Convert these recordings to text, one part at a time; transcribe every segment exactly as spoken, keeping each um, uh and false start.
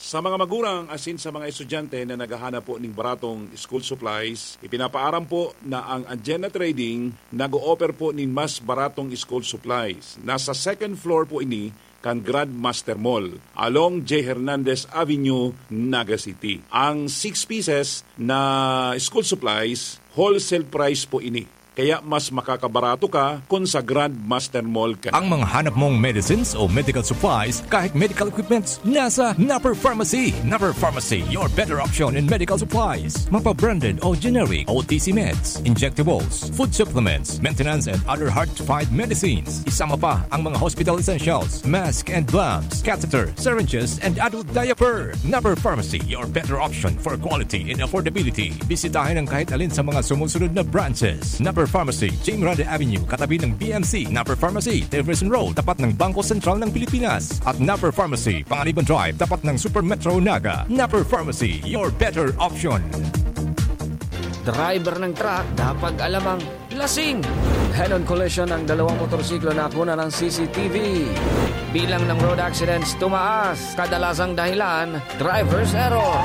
Sa mga magurang asin sa mga estudyante na naghahanap po ning baratong school supplies, ipinapaaram po na ang Anjena Trading nag-o-offer po nin mas baratong school supplies. Nasa second floor po ini kan Grandmaster Mall, along J Hernandez Avenue, Naga City. Ang six pieces na school supplies, wholesale price po ini. Kaya mas makakabarato ka kun sa Grandmaster Mall ka. Ang mga hanap mong medicines o medical supplies, kahit medical equipments, nasa Napper Pharmacy. Napper Pharmacy, your better option in medical supplies. Mapa-branded o generic, O T C meds, injectables, food supplements, maintenance and other hard-to-find medicines. Isama pa ang mga hospital essentials, mask and gloves, catheter, syringes, and adult diaper. Napper Pharmacy, your better option for quality and affordability. Bisitahin ang kahit alin sa mga sumusunod na branches. Napper Pharmacy, Jim Grande Avenue, katabi ng B M C. Napper Pharmacy, Jefferson Road, tapat ng Bangko Sentral ng Pilipinas. At Napper Pharmacy, Panganiban Drive, tapat ng Super Metro Naga. Napper Pharmacy, your better option. Driver ng truck, dapat alam ang lasing. Head-on collision ng dalawang motorsiklo na nakuna ng C C T V. Bilang ng road accidents tumaas, kadalasang dahilan, driver's error.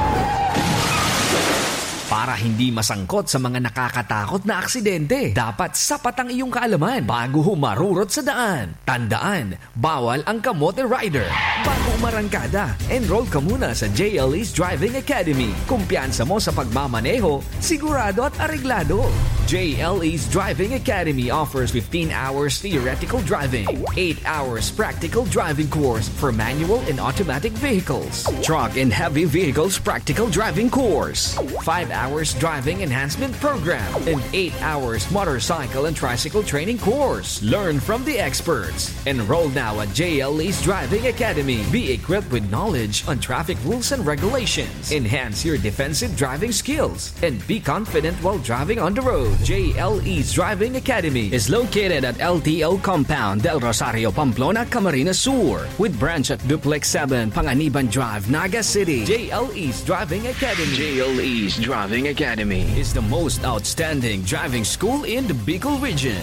Para hindi masangkot sa mga nakakatakot na aksidente, dapat sapat ang iyong kaalaman bago humarurot sa daan. Tandaan, bawal ang kamote rider. Bago umarangkada, enroll ka muna sa J L E's Driving Academy. Kumpiyansa mo sa pagmamaneho, sigurado at areglado. J L E's Driving Academy offers fifteen hours theoretical driving, eight hours practical driving course for manual and automatic vehicles, truck and heavy vehicles practical driving course, five hours driving enhancement program, and eight hours motorcycle and tricycle training course. Learn from the experts. Enroll now at J L E's Driving Academy. Be equipped with knowledge on traffic rules and regulations. Enhance your defensive driving skills and be confident while driving on the road. J L E's Driving Academy is located at L T O Compound, Del Rosario, Pamplona, Camarines Sur, with branch at Duplex seven, Panganiban Drive, Naga City. J L E's Driving Academy. J L E's Driving Academy is the most outstanding driving school in the Bicol region.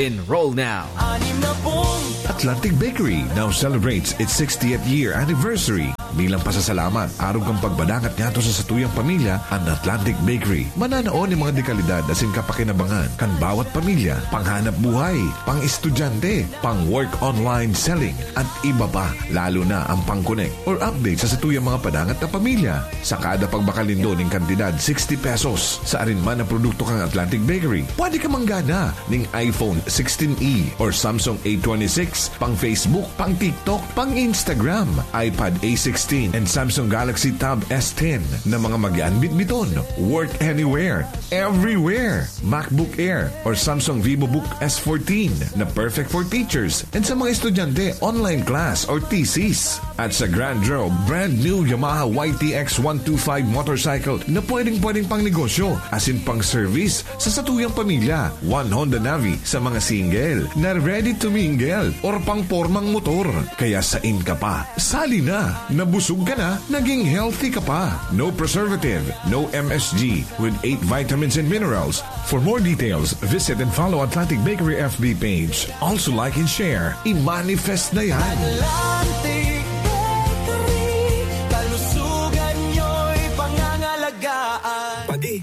Enroll now. Atlantic Bakery now celebrates its sixtieth year anniversary. Bilang pasasalamat, arog kan pagpadangat niyato sa satuyang pamilya, an Atlantic Bakery mananao nin mga dekalidad asin kapakinabangan kan bawat pamilya, panghanap buhay, pang-estudyante, pang-work online selling, at iba pa, lalo na ang pang-connect or update sa satuyang mga padangat na pamilya. Sa kada pagbakal nindo nin kantidad sixty pesos sa arin man na produkto kan Atlantic Bakery, pwede ka manggana ning iPhone sixteen E or Samsung A twenty-six, pang Facebook, pang TikTok, pang Instagram, iPad A sixteen, and Samsung Galaxy Tab S ten na mga mag-aanbitbiton. Work anywhere, everywhere. MacBook Air or Samsung VivoBook S fourteen na perfect for teachers and sa mga estudyante, online class or thesis. At sa Grand Draw, brand new Yamaha Y T X one two five motorcycle na pwedeng-pwedeng pang negosyo, asin pang service sa satuyang pamilya. One Honda Navi sa mga single na ready to mingle or pang pormang motor. Kaya sain ka pa? Sali na! Nabusog ka na, naging healthy ka pa. No preservative, no M S G, with eight vitamins and minerals. For more details, visit and follow Atlantic Bakery F B page. Also like and share. I-manifest na yan! Atlantic Bakery, kalusugan nyo'y pangangalagaan. Padi,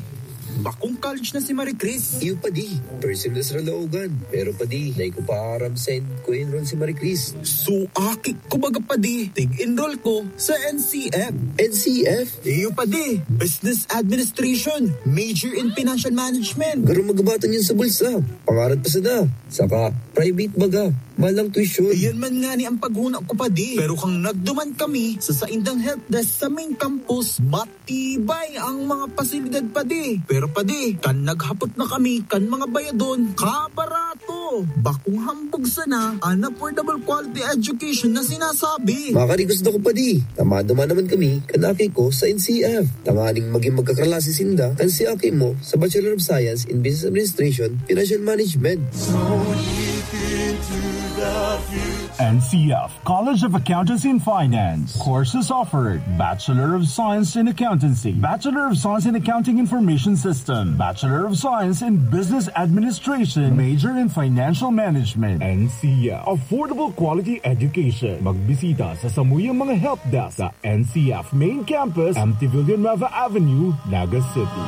bakong college na si Marie Chris. Iyo, padi. First sem na sa Laogan. Pero, padi, dai ko pa aram saen ko enroll si Marie Chris. So, aki ko baga, padi. Tig-enroll ko sa N C F. N C F? Iyo, padi. Business Administration. Major in Financial Management. Garo magabatan yun sa bulsa. Pangarap pa sana. Saka, private baga. Mahal ang tuition. Iyan man ngani ang paghuna ko, padi. Pero kang nagduman kami sa saindang helpdesk sa main campus, matibay ang mga pasilidad, padi. Pero, padi, kan naghapot na kami kan mga bayadon, kabarato. Bakong hambog sana an affordable quality education na sinasabi. Makarigos na ko, padi. Tama-tama naman kami kan aki ko sa N C F. Tanganing maging magkaklase sinda kan si aki mo sa Bachelor of Science in Business Administration, Financial Management. So deep into the future. N C F College of Accountancy and Finance. Courses offered: Bachelor of Science in Accountancy, Bachelor of Science in Accounting Information System, Bachelor of Science in Business Administration, major in Financial Management. N C F, affordable quality education. Magbisita sa samuyang mga help desk sa N C F Main Campus, M T Villanueva Avenue, Naga City.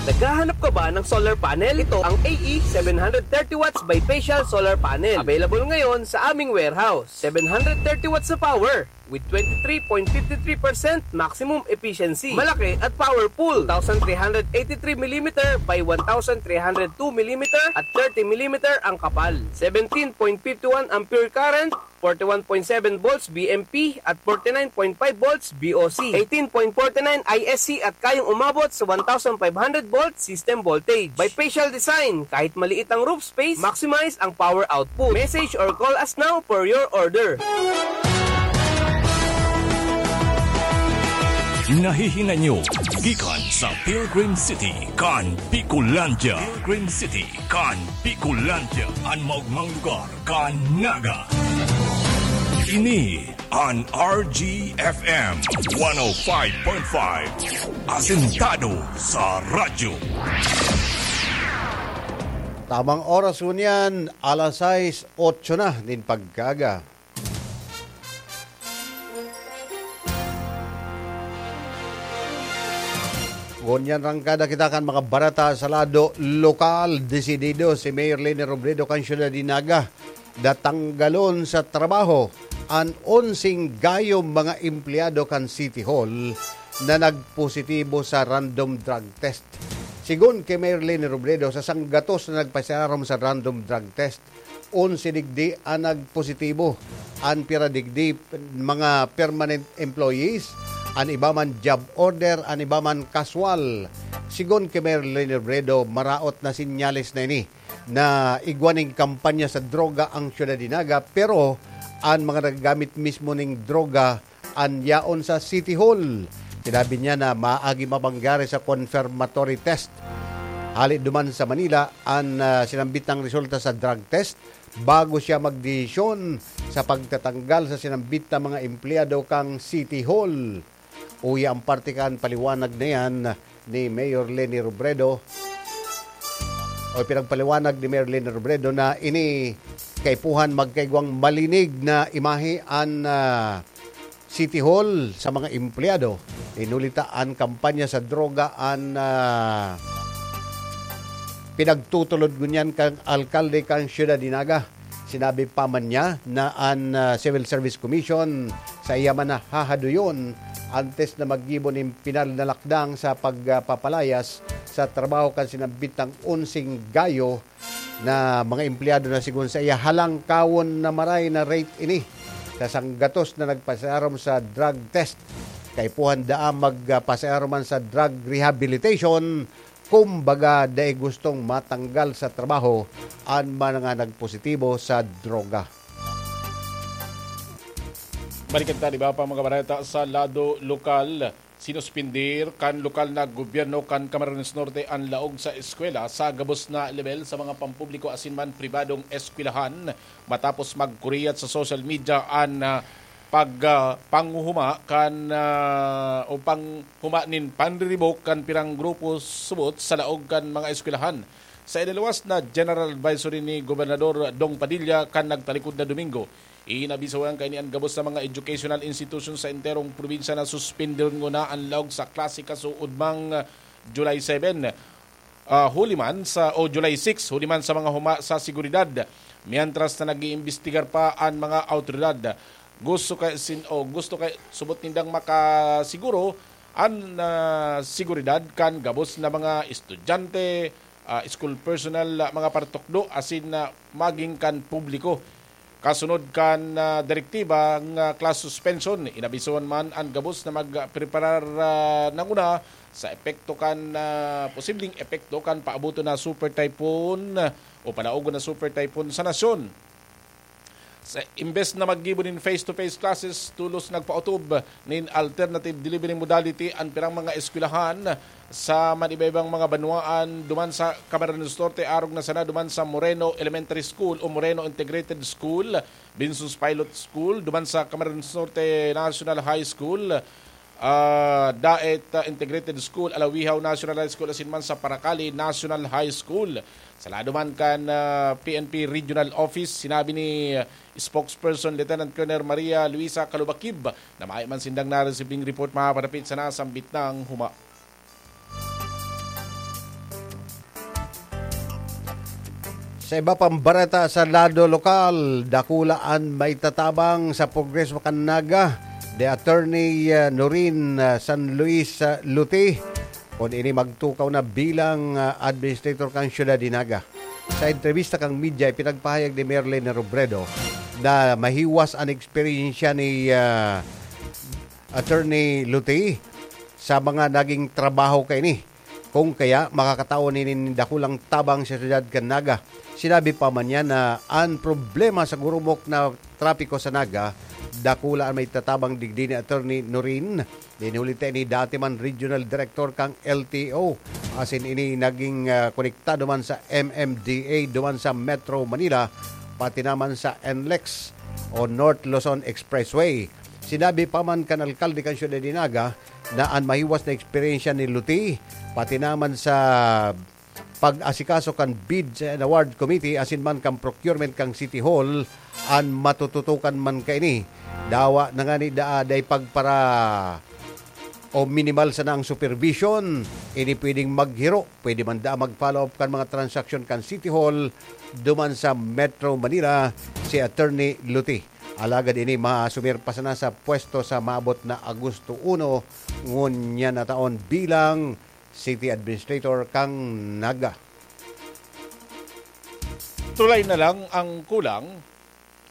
Naghahanap ka ba ng solar panel? Ito ang A E seven hundred thirty watts bifacial solar panel. Available ngayon sa aming warehouse. Seven hundred thirty watts na power with twenty-three point fifty-three percent maximum efficiency. Malaki at powerful. Two thousand three hundred eighty-three millimeter by one thousand three hundred two millimeter at thirty millimeter ang kapal. Seventeen point fifty-one ampere current, forty-one point seven volts B M P at forty-nine point five volts B O C, eighteen point forty-nine I S C at kayang umabot sa one thousand five hundred volt system voltage. Bifacial design, kahit maliit ang roof space, maximize ang power output. Message or call us now for your order. Nahihingan nyo gikan sa Pilgrim City kan Bicolandia. Pilgrim City kan Bicolandia, an maogmang lugar kan Naga. Ini an R G F M one oh five point five, asentado sa radyo. Tamang oras ngunyan, alas sais, otso na nin pagkaaga. Ngunyan rangkada kita kan mga bareta sa lado lokal. Desidido si Mayor Leni Robredo kan syudad nin Naga na tanggalon sa trabaho an onseng gayong mga empleyado kan City Hall na nagpositibo sa random drug test. Sigon ki Mayor Leni Robredo, sa sanggatos na nagpasiarom sa random drug test, onse digdi an nagpositibo. An pira digdi, mga permanent employees, an iba man job order, an iba man kaswal. Sigon ki Mayor Leni Robredo, maraot na sinyales na ini na igwa nin kampanya sa droga ang syudad nin Naga, pero an mga naggamit mismo nin droga an yaon sa City Hall. Sinabi niya na maagi mapangyari sa confirmatory test. Hali duman sa Manila an, ah, sinambit nang resulta sa drug test bago siya magdesisyon sa pagtatanggal sa sinambit na mga empleyado kan City Hall. Uya ang parte kan paliwanag na yan ni Mayor Leni Robredo. O pinagpaliwanag ni Mayor Leni Robredo na ini kaipuhan magkaigwang malinig na imahe an, ah, City Hall sa mga empleyado. Inuli ta an kampanya sa droga an, ah, pinagtutulod ngunyan kan alkalde kan syudad nin Naga. Sinabi pa man niya na an, ah, Civil Service Commission saiya man na hahadoyon antes na maggibo nin pinal na lakdang sa pagpapalayas sa trabaho kan sinambit nang onseng gayo na mga empleyado na sigon saiya halangkawon na maray na rate ini sa sanggatos na nagpasiarom sa drug test. Kaipuhan daa magpasiarom man sa drug rehabilitation, kumbaga dai gustong matanggal sa trabaho an mga nagpositibo sa droga. Balikan ta, di ba, pa mga bareta sa lado lokal. Sinuspindir kan lokal na gobyerno kan Camarines Norte an laog sa eskwela sa gabos na lebel sa mga pampubliko asin man pribadong eskwelahan matapos magkuriyat sa social media an, ah, pag, ah, panguhuma kan, ah, o panghuma nin panriribok kan pirang grupo subot sa laog kan mga eskwelahan. Sa iniluwas na General Advisory ni Gobernador Dong Padilla kan nagtalikod na Domingo, inabisohan kaini an gabos na mga educational institution sa enterong probinsya na suspendon nguna an laog sa klase kasuodmang July seven, ah, huli man sa, o July six, huli man sa mga huma sa seguridad, mientras na nag-iimbestigar pa an mga awtoridad. Gusto kay sin-, o gusto kay subot nindang makasiguro an, ah, seguridad kan gabos na mga estudyante, ah, school personnel, ah, mga partukdo asin, ah, maging kan publiko. Kasunod kan, ah, direktiba nga class suspension, inabisohan man an gabos na magpreparar, ah, nanguna sa epekto kan, ah, posibleng epekto kan paaboton na super typhoon, ah, o palaogon na super typhoon sa nasyon. Sa, imbes na maggibo nin face-to-face classes, tolos nagpaotob nin alternative delivery modality an pirang mga eskwelahan sa man iba-ibang mga banwaan duman sa Camarines Norte, arog na sana duman sa Moreno Elementary School o Moreno Integrated School, Binsus Pilot School, duman sa Camarines Norte National High School, ah, Daet, ah, Integrated School, Alawihaw National High School, asin man sa Paracali National High School. Sa lado man kan, ah, P N P Regional Office, sinabi ni, ah, Spokesperson Lieutenant Colonel Maria Luisa Calubakib na mayo man sindang naresibing report mapapadapit sa nasambit na huma. Sa iba pang bareta sa lado lokal, dakula an maitatabang sa progreso kan Naga, the attorney, ah, Norin, ah, San Luis, ah, Luti, kun ini magtukaw na bilang, ah, administrator kan siyudad ni Naga. Sa entrebista kan media, ipinagpahayag ni Mayor Leni Robredo na mahiwas an eksperyensya ni, ah, Attorney Luti sa mga naging trabaho kaini. Kung kaya, makakatao nin dakulang tabang sa siyudad kan Naga. Sinabi pa man niya na an problema sa gurumok na trapiko sa Naga, dakula an maitatabang digdi ni Attorney Norin. Dinuli ta ini dati man regional director kan L T O. Asin ini naging, ah, konektado man sa M M D A duman sa Metro Manila, pati naman sa N lex o North Luzon Expressway. Sinabi pa man kan alkalde kan siyudad ni Naga na an mahiwas na eksperyensya ni Luti, pati naman sa pag-asikaso kan Bids and Award Committee asin man kan procurement kan City Hall an matututukan man kaini. Dawa na ngani daa dai pagpara o minimal sana ang supervision, ini pwedeng maghiro, pwede man daa mag-follow up kan mga transaksyon kan City Hall duman sa Metro Manila si Attorney Luti. Alagad ini maasumir pa sana sa pwesto sa maabot na Agosto uno, ngunyan na taon bilang City Administrator kan Naga. Tulay na lang ang kulang,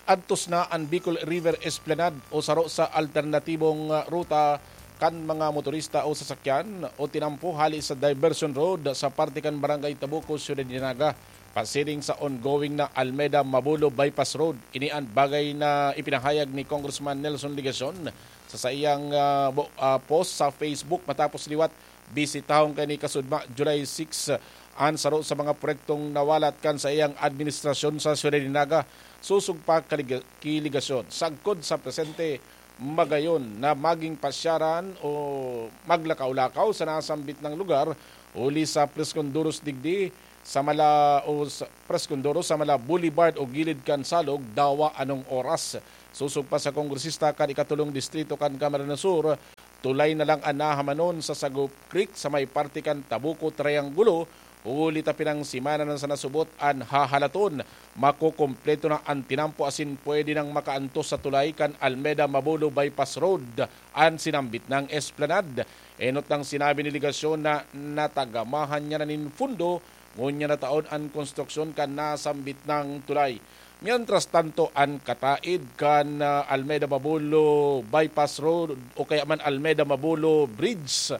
antos na an Bicol River Esplanade o saro sa alternatibong, ah, ruta kan mga motorista o sasakyan o tinampo hali sa diversion road sa parte kan Barangay Tabuco, Ciudad de Naga, pasiring sa ongoing na Almeda Mabulo Bypass Road. Ini an bagay na ipinahayag ni Congressman Nelson Legacion sa saiyang, ah, bo-, ah, post sa Facebook matapos liwat bisitahon kaini kasudma, July six, an saro sa mga proyektong nawalat kan saiyang administrasyon sa Ciudad de Naga. Sosog pa kaliga-, ki Legacion, sagkod sa presente, magayon na magin pasyaran o maglakaw-lakaw sa nasambit na lugar, huli sa Presconduros digdi sa mala o sa Presconduros sa mala Boulevard o gilid kan Salog, dawa anong oras. Sosog pa sa kongresista kan ikatulong distrito kan Camarines Sur, tulay na lang an nahamanon sa Sagop Creek sa may parte kan Tabuco Triangulo, huli ta pinang semana na sa nasubot an hahalaton. Makokompleto na an tinampo asin pwede nang makaantos sa tulay kan Almeda Mabulo Bypass Road an sinambit nang Esplanade. Enot nang sinabi ni Legacion na natagamahan niya na nin fundo ngunyan na taon an konstruksyon kan nasambit nang tulay. Mientras tanto, an kataid kan, ah, Almeda Mabulo Bypass Road o kaya man Almeda Mabulo Bridge,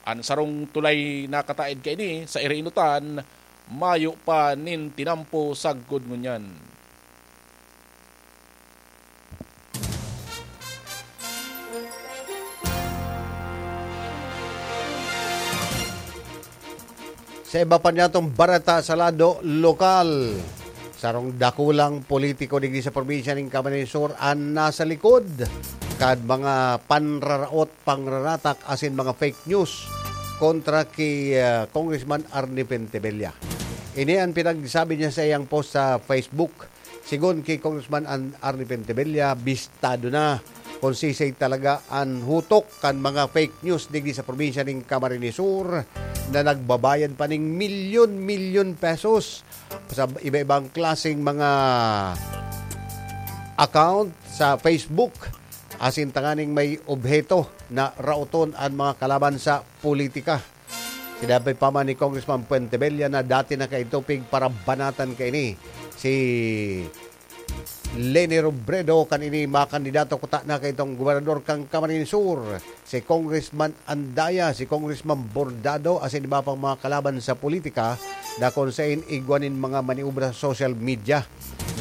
an sarong tulay na kataid kaini sa Irinutan, mayo pa nin tinampo sagkod ngunyan. Sa iba pa niyatong bareta sa lado lokal, sarong dakulang politiko digdi sa probinsya nin Camarines Sur an nasa likod kan mga panraraot, pangraratak asin mga fake news kontra ki, ah, Congressman Arnie Pentebella. Ini an pinagsabi niya sa iyang post sa Facebook. Sigon ki Congressman An-, Arnie Pentebella, bistado na kung sisay talaga an hutok kan mga fake news digdi sa probinsya nin Camarines Sur na nagbabayad pa ning milyon-milyon pesos sa iba-ibang klaseng mga account sa Facebook, asin tanganing may obheto na raoton an mga kalaban sa politika. Sinabi pa man ni Congressman Fuentebella na dati na kaidto pigparabanatan kaini si Leni Robredo kan ini makandidato kuta na kaitong gobernador kan Camarines Sur, si Congressman Andaya, si Congressman Bordado, asin iba pang mga kalaban sa politika na kung sain igwa nin mga maniobra sa social media.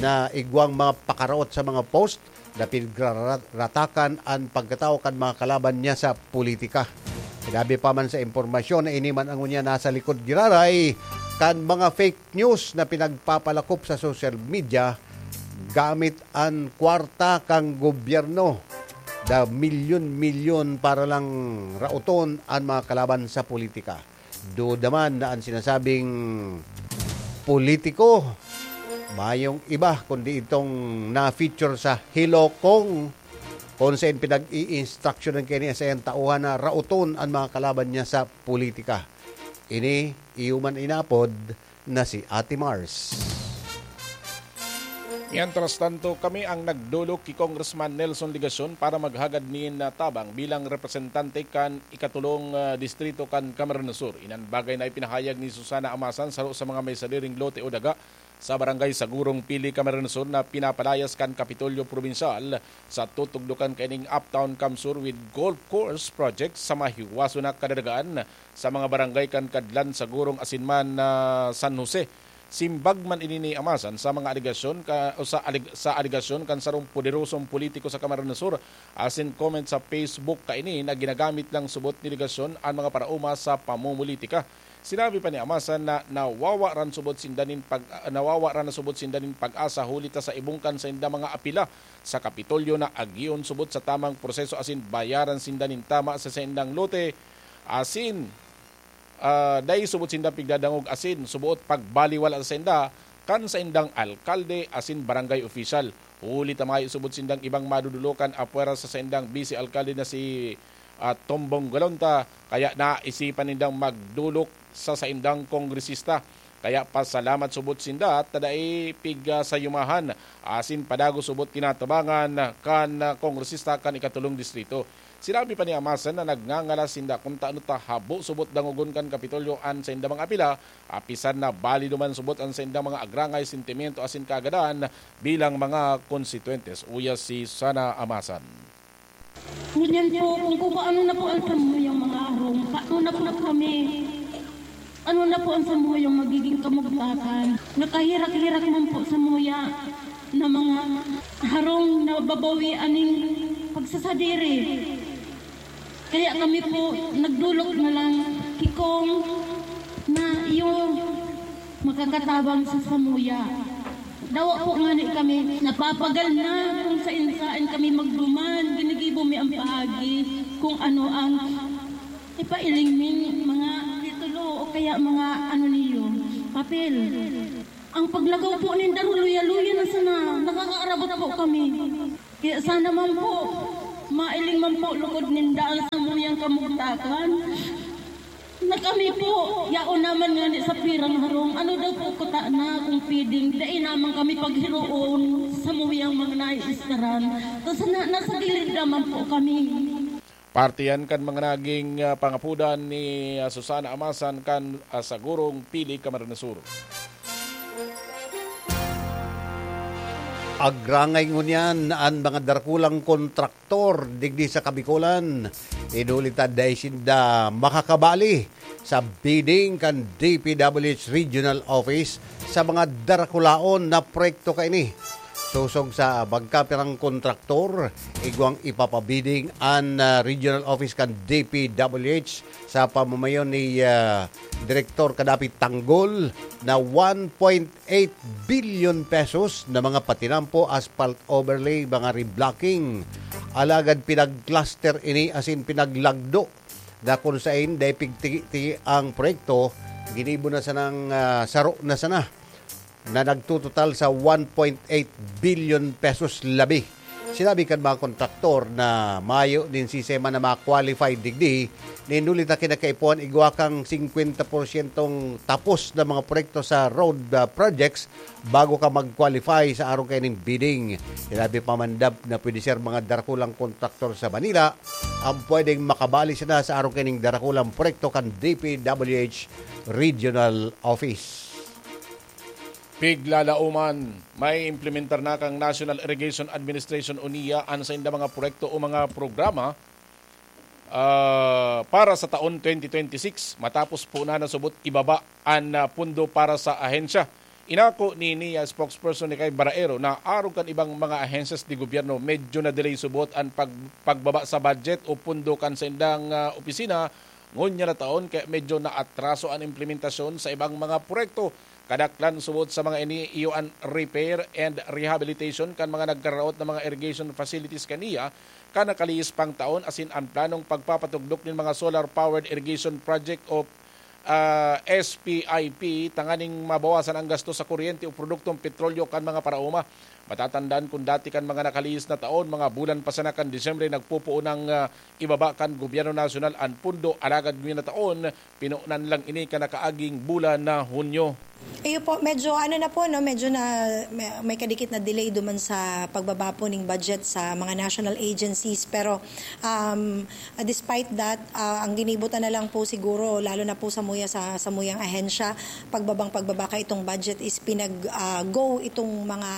na igwang mga pakaraot sa mga post na pinagraratakan an pagkatawo kan mga kalaban niya sa politika. Sinabi pa man sa impormasyon na ini man ang unya nasa likod giraray kan mga fake news na pinagpapalakop sa social media gamit an kwarta kan gobyerno na milyon-milyon para lang raoton an mga kalaban sa politika. Duda man na an sinasabing politiko, mayong iba kundi itong na-feature sa Hilokong, kung saan pinag-i-instructionan kaini sa iyang tauhan na raoton an mga kalaban niya sa politika. Ini iyo man inapod na si Ate Mars. Mientras tanto, kami ang nagdolok ki Congressman Nelson Legacion para maghagad nin, ah, tabang bilang representante kan ikatulong, ah, distrito kan Camarines Sur. Inan bagay na ipinahayag ni Susana Amasan, saro sa mga may sadiring lote o daga sa Barangay Sagurong, Pili, Camarines Sur, na pinapalayas kan Kapitolyo Probinsyal sa tutugdokan kaining Uptown CamSur with Golf Course Project sa mahiwaso na kadadagaan sa mga barangay kan Kadlan, Sagurong asin man, ah, San Jose. Simbag man ini ni Amasan sa mga alegasyon ka, o sa aleg-, sa alegasyon kan sarong poderosong politiko sa Camarines Sur asin comment sa Facebook kaini na ginagamit lang subot ni Legacion an mga paraoma sa pamumulitika. Sinabi pa ni Amasan na nawawaran subot sinda nin pag-, ah, nawawaran na subot sinda nin pag-asa huli ta sa ibong kan sainda mga apila sa Kapitolyo na agion subot sa tamang proseso asin bayaran sinda nin tama sa saindang lote asin ah, dai subot sindang pigdadangog asin suboot pagbaliwala sa sainda kan saindang alkalde asin barangay opisyal. Huli ta mayo subot sindang ibang madudulokan apwera sa saindang bise alkalde na si, ah, Tombong Galonta, kaya naisipan nindang magdolok sa saindang kongresista. Kaya pasalamat subot sinda ta dai pigasayumahan asin padagos subot tinatabangan kan, ah, kongresista kan ikatulong distrito. Sinabi pa ni Amasan na nagngangalas sinda kun ta ano ta habo subot dangogon kan Kapitolyo an saindang mga apila, apisan na balido man subot an saindang mga agrangay, sentimiento asin kaagadan bilang mga konstituyentes. Uya si Susana Amasan. Ngunyan po, kung paano na po ang samuyang mga arong, paano na po kami? Ano na po ang samuyang magiging kamugtakan? Nakahirak-hirak man po samuya na mga harong na babawi aning pagsasadiri. Kaya kami po nagdolok na lang kikong na iyo makakatabang sa samuya. Dawa po ngani kami napapagal na kung sain-sain kami magduman, ginigibo mi ang paagi kung ano ang ipailing ning mga titulo o kaya mga ano niyo, papel. Ang paglakaw po ninda, luya-luya na sana, nakakaarabot po kami. Kaya sana man po, mailing man po lugod ninda ang samuyang kamugtakan. Na kami po, yaon naman ngani sa pirang harong, ano daw po kuta na kung pwedeng dai naman kami paghiroon sa samuyang mga naiistaran. Tapos na, nasa gilid naman po kami. Parte yan kan mga naging, ah, pangapodan ni, ah, Susana Amasan kan, ah, Sagurong, Pili, Camarines Sur. Agrangay ngunyan an mga darakulang kontraktor digdi sa Kabikolan. Inuli ta dai sinda makakabali sa bidding kan D P W H Regional Office sa mga darakulaon na proyekto kaini. Sosog sa magkapirang kontraktor, igwang ipapabidding an, ah, Regional Office kan D P W H sa pamamayon ni, ah, Direktor Kadapi Tanggol na one point eight billion pesos na mga patinampo, asphalt overlay, mga reblocking. Alagad pinag-cluster ini asin pinaglagdo na kun sain dai pigtigi-tigi ang proyekto, ginibo na sanang, ah, saro na sana na nagtutotal sa one point eight billion pesos labi. Sinabi kan mga kontraktor na mayo nin sistema na ma-qualify digdi, nin huli ta kinakaipuhan igwa kang singkwenta porsyentong tapos na mga proyekto sa road, ah, projects bago ka mag-qualify sa arong kaining bidding. Sinabi pa man dab na pwede ser mga darakulang kontraktor sa Manila ang pwedeng makabali sana sa arong kaining darakulang proyekto kan D P W H Regional Office. Piglalaoman, may implementar na kan National Irrigation Administration o NIA an sainda mga proyekto o mga programa, ah, para sa taon twenty twenty-six, matapos po na nasubot ibaba an, ah, pondo para sa ahensya. Inako ni NIA spokesperson Nikay Baraero na arog kan ibang mga ahensyas de gobyerno, medyo na-delay subot an pag-, pagbaba sa budget o pundo kan saindang, ah, opisina, ngunyan na taon, kaya medyo naatraso an implementasyon sa ibang mga proyekto. Kadaklan subot sa mga ini iyo an repair and rehabilitation kan mga nagkaraot na mga irrigation facilities kan NIA kan nakalihis pang taon, asin an planong pagpapatugdok nin mga solar-powered irrigation project o, ah, S P I P, tanganing mabawasan ang gasto sa kuryente o produktong petrolyo kan mga paraoma. Matatandaan, kun dati kan mga nakalihis na taon, mga bulan pa sana kan Disyembre, nagpupuon ang, ah, ibaba kan gobyerno nasyonal an pundo, alagad ngunyan na taon, pinunan lang ini kan nakaaging bulan na Hunyo. Iyo po, medyo ano na po, no, medyo na may, may kadikit na delay duman sa pagbaba po ning budget sa mga national agencies. Pero, um, despite that, ah, ang ginibutan na lang po siguro, lalo na po sa muya, sa, sa muyang ahensya, pagbabang pagbaba ka itong budget is pinag, ah, go itong mga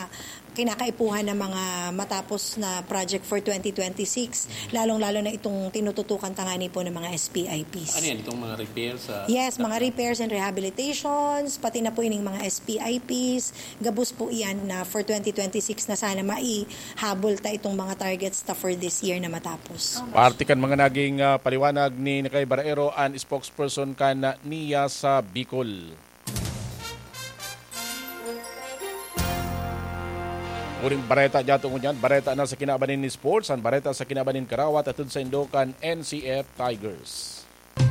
kinakaipuhan na mga matapos na project for twenty twenty-six, lalong-lalo na itong tinututukan tangani po ng mga S P I Ps. Ano yan? Itong mga repair sa Yes, mga repairs and rehabilitations, pati na po ining mga S P I Ps. Gabos po iyan na for twenty twenty-six na sana maihabol ta itong mga targets ta for this year na matapos. Parte kan mga naging, ah, paliwanag ni Nikay Baraero, an spokesperson kan NIA sa Bicol. Uring bareta diyato ngunyan, bareta na sa kinaban nin sports, an bareta sa kinaban nin karawat atod sa indo kan N C F Tigers.